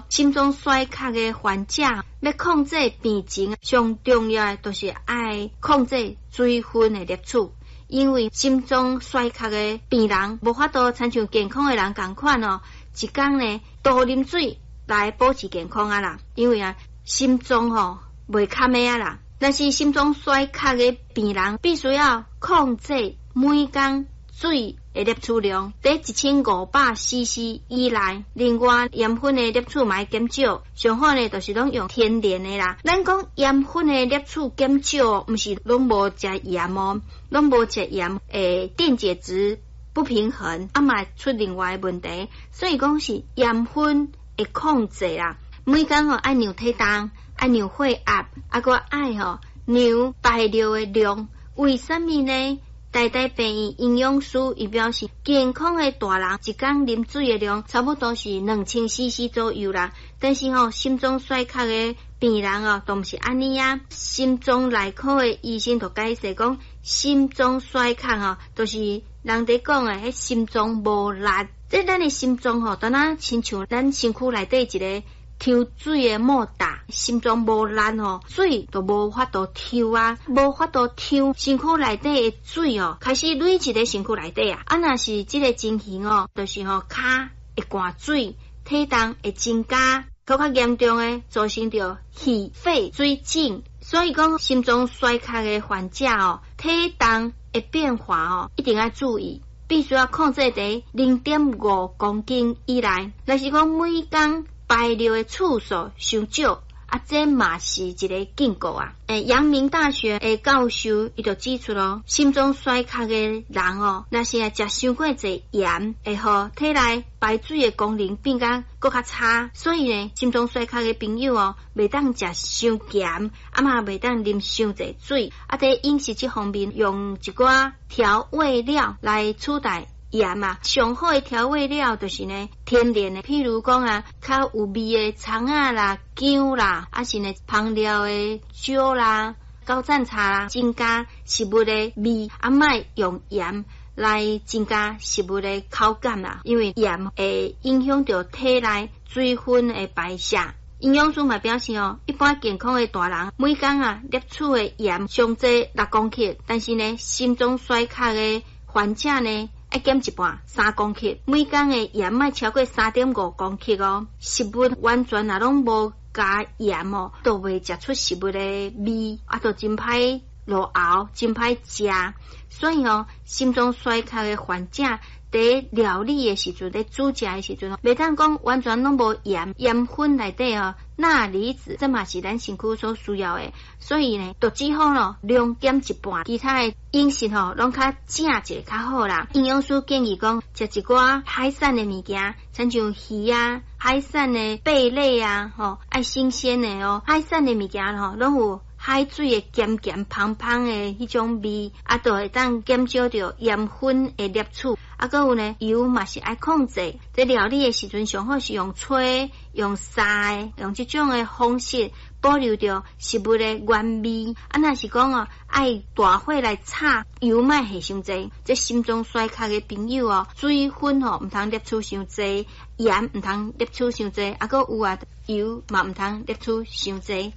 心臟衰竭的患者欲控制病情，上重要的就是愛控制水分的攝取，因為心臟衰竭的病人無法度親像健康的人仝款哦，一工呢多啉水來保持健康啊啦。因為啊，心臟吼袂較咩啊啦，但是心臟衰竭的病人必須要控制每工水的攝取量佇1500 cc 以內，另外鹽分的攝取嘛愛減少，上好呢就是攏用天然的啦。咱講鹽分的攝取減少，毋是攏無食鹽哦，攏無食鹽會電解質不平衡，啊嘛會出另外的問題。所以講是鹽分的控制啦，每工吼愛量體重，愛量血壓，啊閣愛吼量排尿的量。為啥物呢？台大病院營養師伊表示，健康的大人一工啉水的量差不多是2000 cc 左右啦。但是吼，心臟衰竭的病人哦，都毋是按呢啊。心臟內科的醫生就解釋講，心臟衰竭吼，就是人佇講的，彼心臟無力。這咱的心臟吼，敢若親像咱身軀內底一个抽水的莫達，心臟無力吼，水就無法度抽啊，無法度抽，身軀內底的水哦，開始累積佇身軀內底啊。啊，若是這个情形哦，就是吼，跤會灌水，體重會增加，閣較嚴重的造成著氣肺水腫。所以講，心臟衰竭的患者哦，體重的變化哦，一定愛注意，必須要控制佇0.5公斤以內。若是講每工排尿的次數傷少，啊，這嘛是一个警告啊。陽明大學的教授伊就指出咯，心臟衰竭的人哦，若是愛食傷過濟鹽，會予體內排水的功能變甲閣較差。所以呢，心臟衰竭的朋友哦，袂當食傷鹹，啊嘛袂當啉傷濟水。啊，佇飲食這方面，用一寡調味料來取代鹽啊，上好的調味料就是呢天然的，譬如講啊，較有味的蔥仔啦、薑啦，啊是呢香料的椒啦、高贊茶啦，增加食物的味，啊莫用鹽來增加食物的口感啦，因為鹽會影響著體內水分的排泄。營養師嘛表示哦，一般健康的大人每工啊攝取的鹽上濟6公克，但是呢心臟衰竭的患者呢，愛減一半，3公克，每工的鹽莫超過3.5公克哦。食物完全若攏無加鹽哦，都袂食出食物的味，啊，都真歹落喉，真歹食。所以哦，心臟衰竭的患者佇料理的時陣，佇煮食的時陣，袂當講完全攏無鹽，鹽分內底哦，鈉離子，這嘛是咱身軀所需要的。所以呢，就只好咯，量減一半，其他的飲食吼，攏較正一下較好啦。營養師建議講，食一寡海產的物件，親像魚啊、海產的貝類啊，吼，愛新鮮的哦。海產的物件吼，攏有海水的鹹鹹芳芳的彼種味，啊，就會當減少著鹽分的攝取。啊，閣有呢，油嘛是愛控制。佇料理的時陣，上好是用炊、用煠的，用這種的方式保留著食物的原味。啊，若是講哦，愛大火來炒，油莫下傷濟。這心臟衰竭的朋友哦，水分吼毋通攝取傷濟，鹽毋通攝取傷濟，啊，閣有啊，油嘛毋通攝取傷濟。